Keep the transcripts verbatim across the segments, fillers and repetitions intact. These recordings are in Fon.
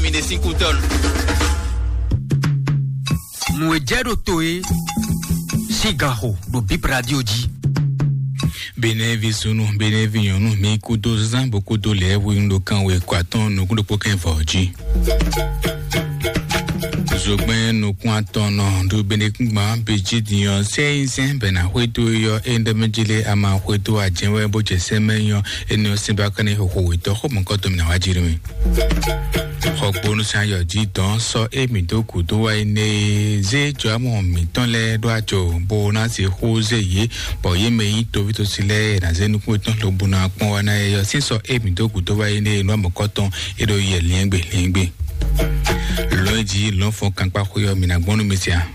Mi ɖe sín kú tɔn. Nǔ e jɛ ɖo to e sín gan xo ɖo Bip Radio jí. Benɛvi sunu, benɛvi nyɔnu, mi kudo zan bo kudo lɛ wu ɖo kan we kɔ atɔn nukún ɖokpó kɛn vɔ jí. Zogbɛn nukún atɔn nɔ ɖo benɛkúngban bejí dinyɔ sɛyinzɛn bɛna xwédo yɔ e ndɛmɛjele ama xwédo ajɛwɛ bó jɛ sɛmɛ yɔ eni ɔ́ sɛnba kɛnɛ xɔxɔ wetɔ xɔ mɔkɔtɔ mi na wá jí mi. Xɔgbónú sanyɔ jí dɔn sɔ émí dó gǔdo wá yi nɛ zé jɔamɔ mǐtɔn lɛ́ɛ ɖó ajo bó ná se xó zé yě, bɔ yě mɛ nyí tovítɔ́sí lɛ́ɛ ná zé nukún yětɔn lobo ná kpɔ́n wá ná yɛ yɔ sín sɔ émí dó gǔdo wá yi nɛ nú amɔ̌kɔ́tɔn é ɖo yɛ liɛ́ngbè liɛ́ngbè. Lɔ̌n jí lɔ̌n fɔ́n kankpá xwé ɔ́, mǐ ná gbɔn nú mi sia.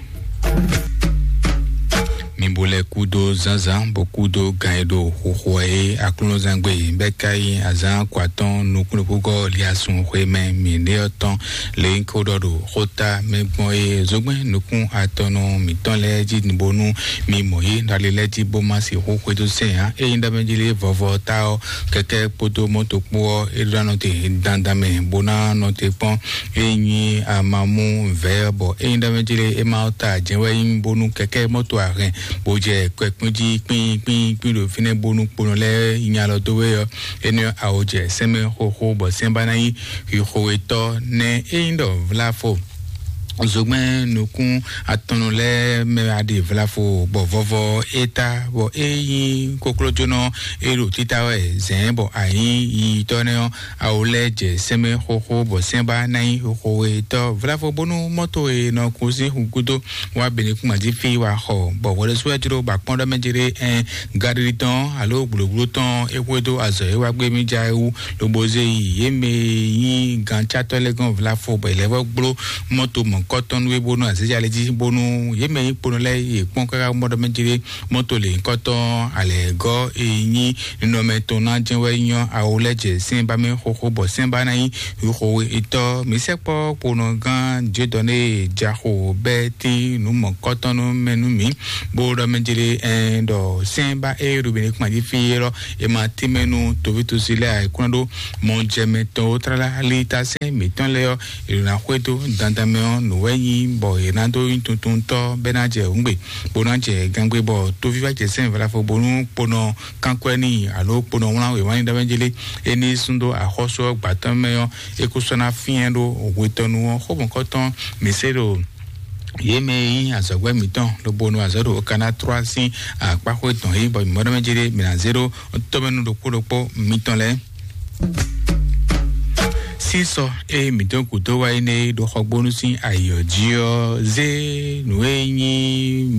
Mi bo lɛ kúdó zánzán bó kúdó gan e ɖo xoxo ɛ é aklúnɔzán gbe bɛ́ ka nyí azǎn kɔ atɔ́ɔ́n nukúnnukúngɔ́ Eliasun xwé mɛ mǐ ɖe ɔ́ tɔn, lě nyí ko ɖɔ ɖo xóta mɛ gbɔn é zogbɛ́n nukún atɔnɔ mǐtɔn lɛ́ɛ jí bónú mi mɔ yě ɖali lɛ́ɛ jí bó má sixú xwedó sɛn ǎ. Ényí ɖɔ mɛ jí lé vɔvɔ ta ɔ́, kɛkɛ́ kpódó mɔ́to kpó ɔ́, é ɖó ná nɔ te dandan mɛ bó ná nɔ te kpɔ́n. É nyí amamú vɛ̌ bɔ é nyí ɖɔ mɛ jí lé é ma ta jɛ́n wɛ nyí bónú kɛkɛ́ mɔ́to ahɛn bó jɛ kpɛkpín jí kpín kpín kpín ɖo fínɛ́ bónú kponɔ lɛ́ɛ nya lɔ dó wɛ ɔ́, énɛ́ ɔ́, a wǒ jɛ sɛ́nmɛ xóxó bɔ sɛ́n ba ná nyí xwixwetɔ́ nɛ́. É nyí ɖɔ vláfo zogbɛ́n nukún atɔnnu lɛ́ɛ mɛ aɖe vlafo bɔ vɔvɔ é ta bɔ é nyí koklójónɔ é ɖo títá wɛ zɛ̌n bɔ a nyǐ yiyitɔ́ nɛ́ ɔ́, a wǒ lɛ́ jɛ sɛ́nmɛ xóxó bɔ sɛ́n ba ná nyí xwixwetɔ́ vlafo bónú mɔ́to e nɔ kú sín xu gúdo wá benekúnma jí fí wá xɔ bɔ hwɛɖésú wɛ jló bɔ akpɔ́n ɖɔ mɛ jí ɖé ɛn Galilée tɔn alo gblogblo tɔn é xwedó azɔ̌ e wá gbé mì ja é wú, lobo zé yi yě mɛ e nyí gancátɔ́ lɛ́ɛ gɔ́n vlafo bɔ è lɛ́ vɔ́ gbló mɔto mɔ̌kɔtɔn nú é bónú azéjalɛ jí bónú yě mɛ e nyí kponɔ lɛ́ɛ yě kpɔ́n káká mɔ ɖɔ mɛ jí ɖé mɔto lě nyǐkɔtɔn alɛ̌gɔ́ e nyí ninɔmɛ tɔn ná jɛ́n wɛ nyɔ́ awo lɛ́ jɛ sɛ́n ba mɛ xóxó bɔ sɛ́n ba ná nyí xixo etɔ́. Mǐ sɛkpɔ́ kponɔgán Jedɔné Jaxo bɛ́ tín nǔ mɔ̌kɔtɔn nú mɛ nú mǐ, bó ɖɔ mɛ jlé ɛn ɖɔ sɛ́n ba é ɖo Benekuma jí fí é lɔ, è ma tínmɛ nú toví tosi lɛ́ɛ ayǐkúnná ɖó mɔ jɛ mɛ tɔn ó tlá lí ta sɛ́n mǐtɔn lɛ́ɛ ɔ́, è ɖo ná xwedó dandan mɛ ɔ́, nǔ wɛ nyí bɔ è nǎ dó nyí tuntuntɔ́ bɛ́ ná jɛ hǔngbe, bó ná jɛ gangbé bɔ tóví wá jɛ sɛ́n vlafo bónú kponɔ kankwɛ́ n'i alo kponɔ wlán wěwá n'i ɖɔ mɛ jlé é ní sún dó axɔ́sú ɔ́ gbǎtɔ́ mɛ ɔ́, é kú sɔ́ ná fyɛ́n ɖó hwetɔnu ɔ́ xó mɔ̌kɔtɔn mǐ se ɖo yě mɛ e nyí azɔ̌gbɛ́ mǐtɔn lobo nɔ azɔ̌ ɖo Okaná Trɔ́a sín akpáxwé tɔn yí bɔ mǐ mɔ ɖɔ mɛ jí ɖé mǐ ná zé ɖó tɔ́mɛnu ɖokpó ɖokpó mitɔn lɛ́ɛ. Sísɔ e mǐtɔn gǔdo wá yi nɛ ɖo xɔgbónú sín ayǐ ɔ́ jí ɔ́, zé nǔ e nyí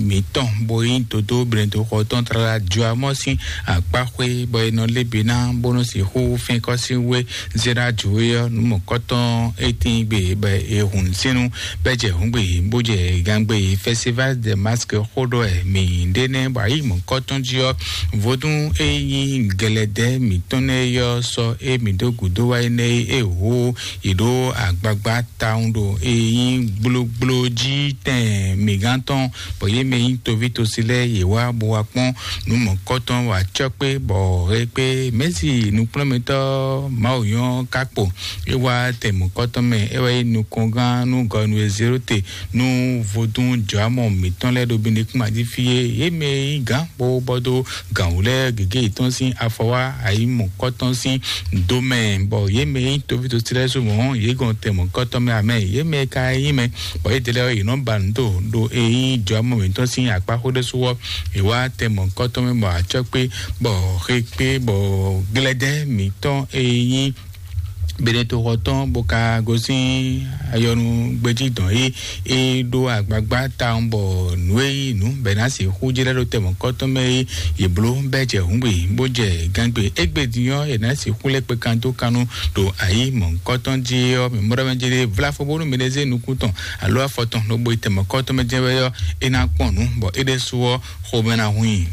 mǐtɔn bó nyí dodó blɛ̌ndoxɔ tɔn tlala jɔ amɔ́ sín akpáxwé bɔ è nɔ lé be ná bó nɔ sixú fɛ́nkɔ́ sín wé Zera Joe ɔ́, nǔ mɔ̌kɔtɔn e tín gbe bɔ è hun sínú bɔ é jɛ hǔngbe bó jɛ gangbe. Festival de Masque xó ɖɔ ɛ mǐ ɖe nɛ́ bɔ ayǐ mɔ̌kɔtɔn jí ɔ́, vodún e nyí gɛlɛdɛ́ mǐtɔn nɛ́ yɔ sɔ e mǐ dó gǔdo wá énɛ́ é hú yě ɖó agbagba tawun ɖo e nyí gblógbló jí tɛn mǐgán tɔn bɔ yě mɛ nyí toví tosi lɛ́ɛ yě wá bó wá kpɔ́n nǔ mɔ̌kɔtɔn wá cɔ́ kpé bɔ hé kpé mɛ̌si nukplɔ́nmɛtɔ́ Mawu nyɔ́ ká kpo. É wá tɛ mɔ̌kɔtɔn mɛ, é wá nyí nukɔngán nú gɔnu e zé ɖó te nú vodún jɔ̌amɔ mǐtɔn lɛ́ɛ ɖo Benekuma jí fí é. Yě mɛ nyí gǎn bó bɔ dó gǎn wú lɛ́ɛ gěgé yětɔn sín afɔ wá ayǐ mɔ̌kɔtɔn sín do mɛ, bɔ yě mɛ nyí toví tosi lɛ́ɛ sú mɔ̌ yě gɔn tɛ mɔ̌kɔtɔn mɛ amɛ. Yě mɛ ka nyí mɛ bɔ yě délé ɔ́, yě nɔ ba nǔ do ɖo e nyí jɔ̌amɔ mǐtɔn sín akpáxwé ɖésú ɔ́, è wá tɛ mɔ̌kɔtɔn mɛ bɔ acɔ́ kpé bɔ xe kpé bɔ glɛdɛ́ mǐtɔn e nyí Benetoxɔ tɔn bó ka gosín ayɔnu gbéjí dɔn é é ɖó agbagba tawun bɔ nǔ e nyí nǔ bɛ̌ ná sixú jlɛ́ ɖó tɛ mɔ̌kɔtɔn mɛ é yě bló bɛ́ jɛ hǔngbe bó jɛ gángbe. Égbé din ɔ́, è nǎ sixú lɛ́ kpe kan dó kannú ɖo ayǐ mɔ̌kɔtɔn jí ɔ́, mǐ mɔ ɖɔ mɛ jí ɖé vlá fɔ bónú mǐ ɖe zé nukún tɔn alo afɔ tɔn lobo yi tɛ mɔ̌kɔtɔn mɛ jɛ́n wɛ ɔ́, é ná kpɔn nǔ bɔ é ɖésú ɔ́ xomɛ ná hun i.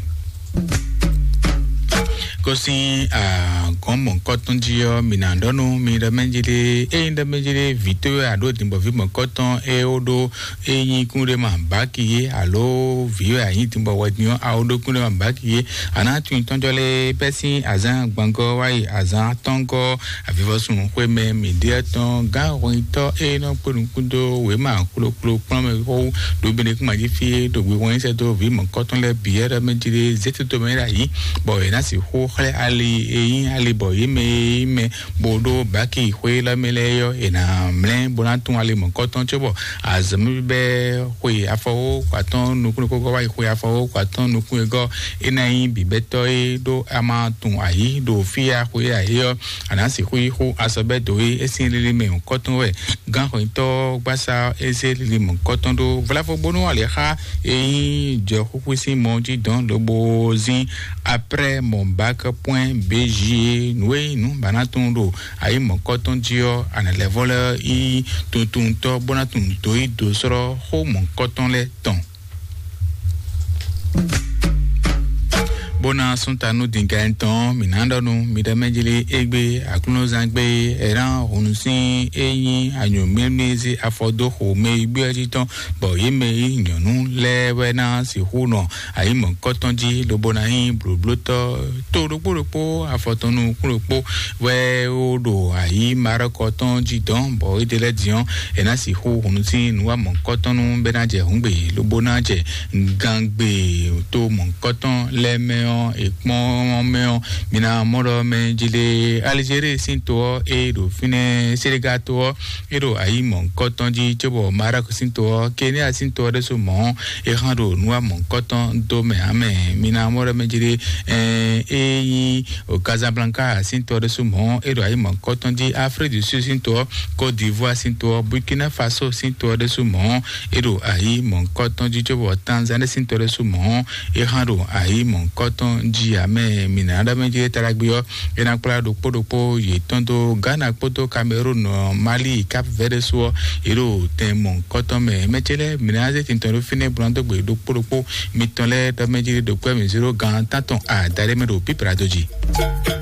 Kó sín agɔ̌n mɔ̌kɔtɔn jí ɔ́, mǐ ná ɖɔ nú mi ɖɔ mɛ jí ɖé, ényí ɖɔ mɛ jí ɖé vǐ towe aɖó dǐnbɔví mɔ̌kɔtɔn é ó ɖó, é nyí kúnɖéma báki é, alo vǐ wɛ a nyǐ dǐnbɔ wɛ din ɔ́, a ó ɖó kúnɖéma báki é. A nǎ tunwun tɔ́njɔ lɛ́ɛ bɛ́ sín azǎn gbangɔ́ wá yi azǎn atɔ́ngɔ́ avivɔsun xwé mɛ mǐ ɖe tɔn gán hwɛnyitɔ́ e nɔ kpé nukún dó wěma kplokplo kplɔ́n mɛ xó ɖo Benekuma jí fí é ɖo hwihwɛ́n sɛ́ dó vǐ mɔ̌kɔtɔn lɛ́ɛ bǐ é ɖɔ mɛ jí ɖé zé toto mɛ é ɖo ayǐ, bɔ è nǎ sixú xlɛ́ ali e nyí ali bɔ yě mɛ e nyí mɛ bó ɖó báki xwé lɛ́ɛ mɛ lɛ́ɛ ɔ́, è nǎ mlɛ́ bó ná tún ali mɔ̌kɔtɔn cóbɔ azɔ̌mɛ bíbɛ́ xwe afɔwó atɔ́ɔ́n nukún ɖokpó gɔ́ wá yi xwe afɔwó atɔ́ɔ́n nukún e gɔ́ é ná nyí bǐbɛ́tɔ́ é ɖó a ma tun ayǐ ɖo fí e a xwe é ayǐ ɔ́, a nǎ sixú yi xú azɔ̌ bɛ́ dǒ é é sín lili mɛ mɔ̌kɔtɔn wɛ gán xweyítɔ́ gbásá é zé lili mɔ̌kɔtɔn ɖó vlavo bónú ali xá e nyí jɔxúxú sín mɔ jí dɔn lobo zín aprɛ́ mɔ bak pwɛ́n béji é nǔ e nyí nǔ ba ná tunwun ɖo ayǐ mɔ̌kɔtɔn jí ɔ́, a nǎ lɛ́ vɔ lɛ́ yí tuntuntɔ́ bó ná tunwun dǒ yí dǒ slɔ́ xó mɔ̌kɔtɔn lɛ́ɛ tɔn. Bó ná sún ta nú dǐngán tɔn, mǐ ná ɖɔ nú mi ɖɔ mɛ jlí égbé aklúnɔzán gbé é ná hǔn sín é nyí anyǔmímí zé afɔ dó xo mɛ yi gbé ɔ́ jí tɔn, bɔ yě mɛ yi nyɔ̌nu lɛ́ɛ wɛ ná sixú nɔ ayǐ mɔ̌kɔtɔn jí lobo ná nyí blǒblótɔ́ to ɖokpó ɖokpó afɔ tɔn nukún ɖokpó wɛ ó ɖo ayǐ marɔkɔ tɔn jí dɔn, bɔ é ɖe lɛ́ din ɔ́, è nǎ sixú hun sín nǔwamɔ̌kɔtɔn nú bɛ́ ná jɛ hǔngbe lobo ná jɛ gangbe to mɔ̌kɔtɔn lɛ́ɛ mɛ ɔ́, è kpɔ́n mɛ ɔ́, mi ná mɔ ɖɔ mɛ jí lé Alizéri sín to ɔ́, é ɖo fínɛ́ Senegal to ɔ́, é ɖo ayǐ mɔ̌kɔtɔn jí cóbɔ Maroc sín to ɔ́, Kenya sín to ɔ́ ɖésú mɔ̌ é hán ɖo nǔwamɔ̌kɔtɔn dó mɛ ǎ mɛ. Mi ná mɔ ɖɔ mɛ jí lé é nyí o Casablanca sín to ɔ́ ɖésú mɔ̌ é ɖo ayǐ mɔ̌kɔtɔn jí, Afrique du Sud sín to ɔ́, Côte d'Ivoire sín to ɔ́, Burkina Faso sín to ɔ́ ɖésú mɔ̌ é ɖo ayǐ mɔ̌kɔtɔn jí cóbɔ Tanzanie sín to ɔ́ ɖésú mɔ̌ é hán ɖo ayǐ mɔ̌kɔtɔn jí ǎ mɛ. Mi ná ɖɔ mɛ jí lé Taragbe ɔ́, é ná kplá ɖokpó ɖokpó yětɔn dó Ghana kpódó Cameroun, Mali, Cap Verde sú ɔ́, yě ɖo tɛn mɔ̌kɔtɔn mɛ. Mɛ ce lɛ́ɛ, mi ná zé tintɔn ɖó fínɛ́ bó ná dó gbe ɖokpó ɖokpó mitɔn lɛ́ɛ ɖɔ mɛ jí lé ɖokpó mì zéro gan tántɔn adaɖé mɛ ɖo pípra dó jí.